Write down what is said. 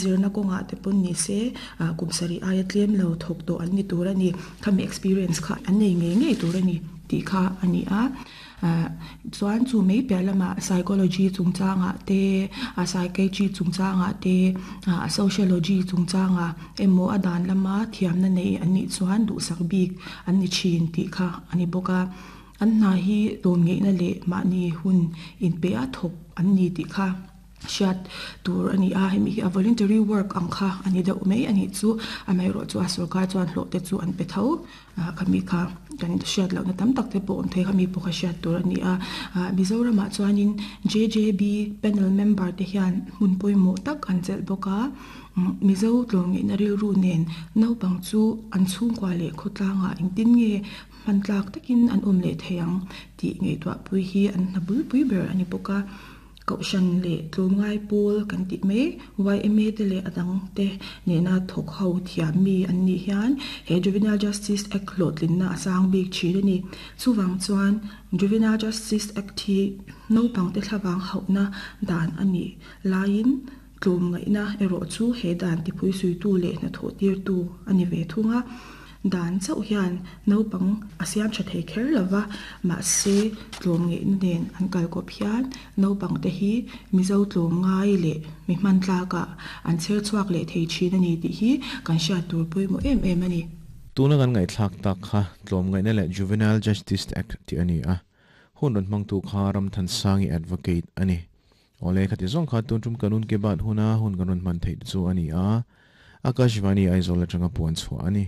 Zirna kawngah te pawn ni se, kum sarih aia tlem lo thawk tawh an ni tur a ni. Khami experience kha an nei ngei ngei tur a ni tih kha a ni a. Chuan chu mai piah lamah psychology chungchangah te, psychiatry chungchangah te, sociology chungchangah emaw a dan lama thiamna nei an nih chuan duhsak bik an ni thin tih kha a ni bawk a. An hna hi tlawmngeihna leh mahni hun inpeh a thawk an ni tih kha. Hriat tur a ni a, hemi hi a voluntary work ang kha a ni deuh mai a nih chu, amaherawh chu a sorkar chuan hlawh te chu an pe tho ah khami kha kan hriat lohna tam tak te pawh awm thei khami pawh kha hriat tur a ni a, ah Mizoramah chuanin JJB panel member te hian hmun pawimawh tak an chelh bawk a, Mizo tlawmngeihna rilru nen naupang chu an chhungkua leh khawtlangah engtin nge hman tlak takin an awm leh thei ang tih ngaihtuahpui hi an hna bulpui ber a ni bawk a. Kohhran leh tlawmngai pawl kan tih mai yma te leh a dang te nena thawk ho thiam mi an nih hian he Juvenile Justice Act hlawhtlinna a sang bik thin a ni. Chuvang chuan Juvenile Justice Act hi naupang te thlavang hauhna dan a nih laiin Tlawmngaihna erawh chu he dan tipui suitu leh hnathawh tirtu a ni ve thung a. Dan chauh hian naupang a siam tha thei kher lo va, mahse tlawmngaihna nen an kalkawp hian naupangte hi Mizo tlawmngai leh mi hman tlakah an chher chhuak leh thei thin a ni tih hi kan hriat tur pawimawh em em a ni. Tuna kan ngaihthlak tak kha Tlawmngaihna leh Juvenile Justice Act tih a ni a, hun rawn hmangtu kha Ramthansangi Advocate a ni. Awle, khati zawng kha tun tum kanun ke bat huna hun kan rawn hman theih chu a ni a, Akashvani Aizawl atanga puan chhuah a ni.